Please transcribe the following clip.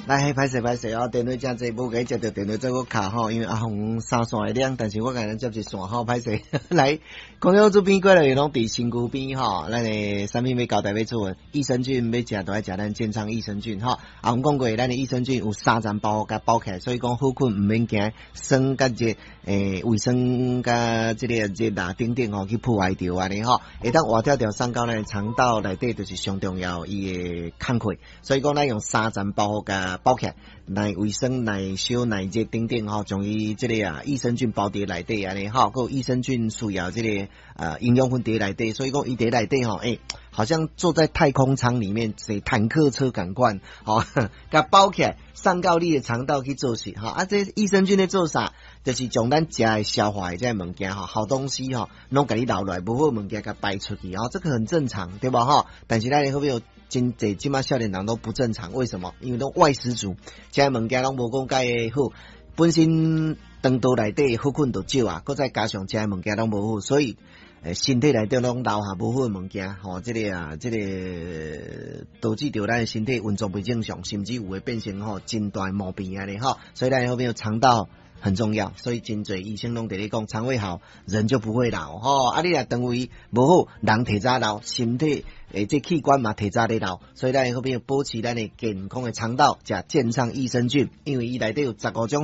來，歹勢歹勢哦，電話誠濟，無共接著電話再閣敲吼，因為阿紅三線會兩，但是我共咱接一線吼，歹勢。來，空中這邊過來攏佇身軀邊吼，咱的產品欲交代欲出門，益生菌欲食都愛食咱健康益生菌吼。阿紅講過，咱的益生菌有三層包共包起來，所以講好菌毋免驚，酸佮熱，胃酸佮這個熱啊等等吼去破壞著按呢吼，會當活條條送到咱的腸道內底，就是上重要伊的工課。所以講咱用三層包覆共包起來，耐胃酸、耐燒、耐熱等等吼，將伊這個啊益生菌包佇內底按呢吼，閣有益生菌需要這個營養分佇內底，所以講伊佇內底吼，好像坐在太空艙裡面，坐坦克車仝款，吼，共包起來，送到你的腸道去做事，吼，啊，這益生菌咧做啥？就是將咱食的消化的這个物件吼，好東西吼，攏共你留落來，無好物件共排出去，吼，這個很正常，對無吼？但是咱的好朋友真濟，這馬少年人都不正常，為什麼？因為攏外食族，食的物件攏無講介好，本身腸道內底好菌就少啊，閣再加上食的物件攏無好，所以身體內底攏留下無好的物件，吼，這個啊，這個導致著咱的身體運作袂正常，甚至有會變成吼真大的毛病按呢吼，所以咱好朋友腸道很重要，所以真濟醫生攏佇咧講，腸胃好，人就不會老吼。啊，你若腸胃無好，人提早老，身體這器官嘛提早咧老，所以咱好朋友保持咱的健康的腸道，食健康益生菌，因為伊內底有15種。